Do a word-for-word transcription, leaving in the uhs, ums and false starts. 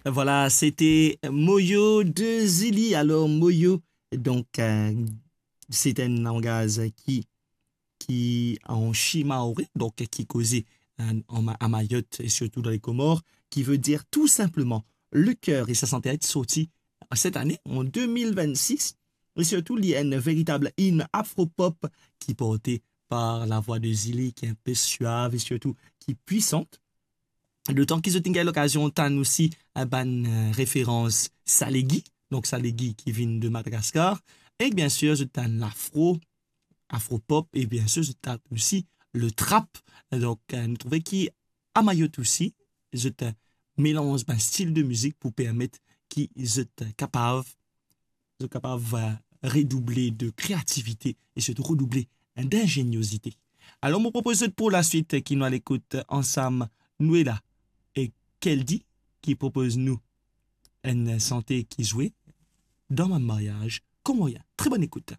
Voilà, c'était Moyo de Zili. Alors, Moyo, donc, euh, c'est un langage qui, qui en shimaoré, donc qui causait, euh, en Ma-, à Mayotte et surtout dans les Comores, qui veut dire tout simplement le cœur. Et ça s'est sorti cette année, en deux mille vingt-six. Et surtout, il y a une véritable hymne afro-pop qui est portée par la voix de Zili, qui est un peu suave et surtout qui est puissante. Letan ki zot inn gagn lokazion tann osi, eh, bann, euh, referans Salegi, donk Salegi ki vinn de Madagaskar, e bien sir zot tann lafro, afropop, e bien sir zot tann osi le trap. Donk, euh, nou trouve ki a Mayotte osi, zot, euh, melanz bann stil de mizik pou permet ki zot, euh, kapav zot kapav, euh, redouble de kreativite e sirtou redouble, hein, d'ingéniosité. Alor, mo propoz zot pou laswit ki nou al ekout ansam Noela e Keldi ki propoz nou enn sante ki zwe dan bann maryaz komorien. Tre bonn ekout.